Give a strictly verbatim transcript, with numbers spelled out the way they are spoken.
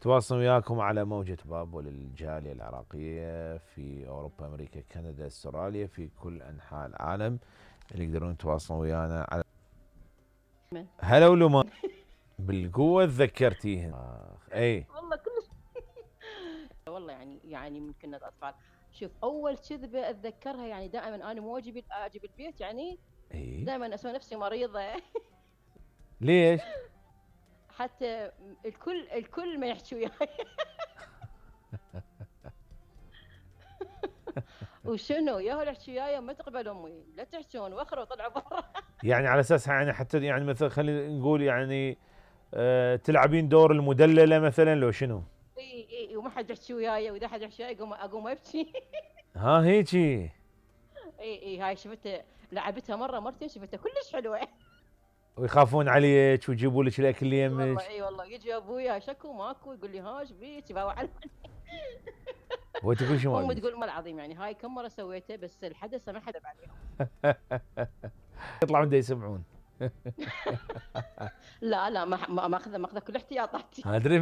تواصل وياكم على موجة بابو للجالية العراقية في أوروبا، أمريكا، كندا، استراليا، في كل أنحاء العالم اللي يقدرون يتواصلون ويانا على هلا ولما بالقوة تذكرتيهم. آخ اي والله كلش والله يعني يعني من كنا اطفال. شوف اول كذبه اتذكرها، يعني دائما انا مو اجي اجي بالبيت، يعني اي دائما اسوي نفسي مريضه. ليش؟ حتى الكل الكل ما يحكي وياي. وشنو ياهو يحكي وياي، ما تقبل امي، لا تحشون واخروا طلعوا برا. يعني على اساس يعني حتى يعني مثلا خلينا نقول يعني آه تلعبين دور المدللة مثلا لو شنو؟ اي اي وما حد يحكي وياي، واذا حد يحكي وياي اقوم اقوم ابكي. ها هيجي. اي اي هاي شفتها، لعبتها مره مرتين، شفتها كلش حلوه. ويخافون عليك ويجيبوا لك الاكل اللي اي والله يمك. اي والله يجي ابويا شكو ماكو، يقول لي ها ايش بيك يباوع علي. وانت كل شيء ما امي بيك. تقول ما العظيم يعني هاي كم مره سويته، بس الحدث ما حدب عليهم. يطلعون دا يسمعون. لا لا ما ما ماخذه ماخذه كل احتياطاتي. ادري